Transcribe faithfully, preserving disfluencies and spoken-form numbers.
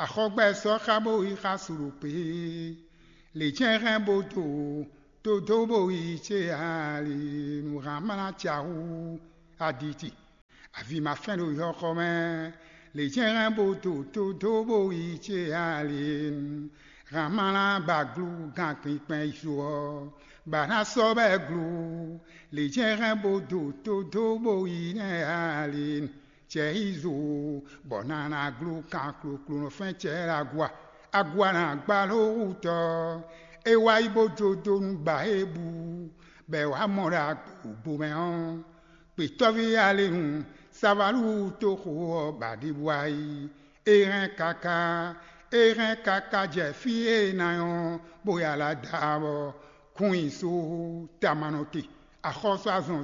Axɔgbɛ sɔ́ xá bó yi xá su ɖo kpě. Lě jɛ́n hɛn bó do tó dó bó yi cé ali nǔ hán mlá ca hú aditi. Avi ma fɛ́n ɖo yɔxɔ mɛ. Lě jɛ́n hɛn bó do tó dó bó yi cé ali hán mlá ba glú gán kpinkpɛn yi zo ɔ́, ba ná sɔ́ bɛ́ glú. Lě jɛ́n hɛn bó do tó dó bó yi nɛ́ ali. Cɛ yi zo bɔ nana glú kan kloklonɔ fɛ́n cɛ ɖo agua. Agua na gba ló wú tɔ. É wá yi bó jó dó nú ba é bu bɔ è wǎ mɔ ɖo agbǒgbó mɛ ɔ́, gbětɔ́ví alinu Savalu toxo ɔ́ ba ɖěbǔ wá yi. É hɛn káká, é hɛn káká jɛ fí e é ná nyɔ́ bó ya la da bɔ kún nyi só tamanɔ te. Axɔ́sú azɔn